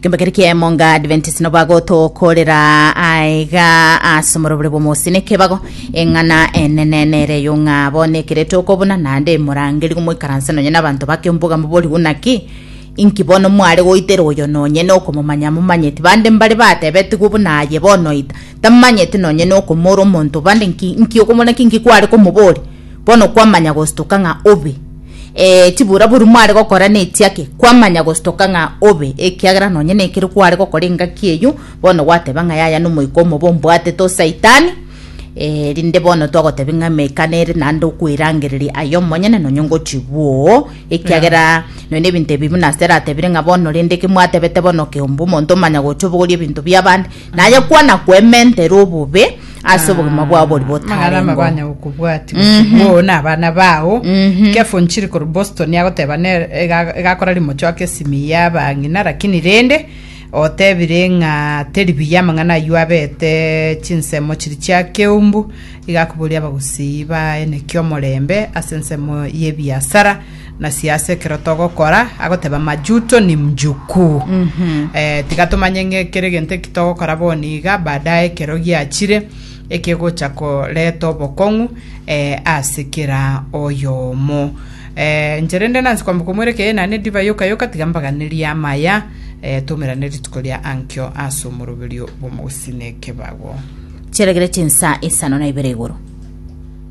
Kembekeri kiaemonga Adventist no bagotokorera aiga ase omorobore bw'omosi nekebago eng'ana enene nere eyo ng'a bono ekere tokobuna naende emorangeri gomoikaranse nonye nabanto bake mboga mobori naki inki bono mware goitera oyo nonye nokomomanya momanyeti bande mbare batebetigwe buna aye bono ita tamanyeti nonye nokomora omonto bande nki nki okomona ki nki kware komobori bono kwamanya gostoka ng'a obe Eh, chiburaburu mware gokora nechiake, kwamanya gostoka ng'a obe, ekiagera nonye nekero kware gokora engaki eyio, bono gwateba ng'a yaya nomoika omobe ombwatete o Saitani, eh, rinde bono twagotebia ng'a emeika nere naende okwerangereria aye omonyene nonye ngochia bwoo, ekiagera nonye na ebinto ebi buna ase eratebire ng'a bono rende eke mwatebete bono keombe omonto omanya gocha obogorie ebinto bi'abande, naye kwana kwementera obobe ase obogima bwao boria Amang'ana botarengo. amabanya gokobwati gose na abana bao kefo nchiri korwa Boston agoteba ne ega- egakora rimochoka esimi ya abang'ina lakini rende otebire ng'a teri buya amang'ana aywo abete chinsemo chiri chia keumbu iga akoboria abagusii baeneki omorembe ase ensemo y'ebiasara na siasa ekero togokora agoteba majuto ni mjukuu eh, tiga tomanye ng'a ekero egento eki togokora bono iga baadaye ekero giachire ekegocha koreta obokong'u eh, ase kera oyomo eh, inche rende nansi kwamboka omwere eye naende ediva yoka yoka tiga mbaganerie amaya eh, toumerane rituko ria ankio ase omoroberio bw'omogusii na ekebago Chiaregire chinsa isano na ibere igoro.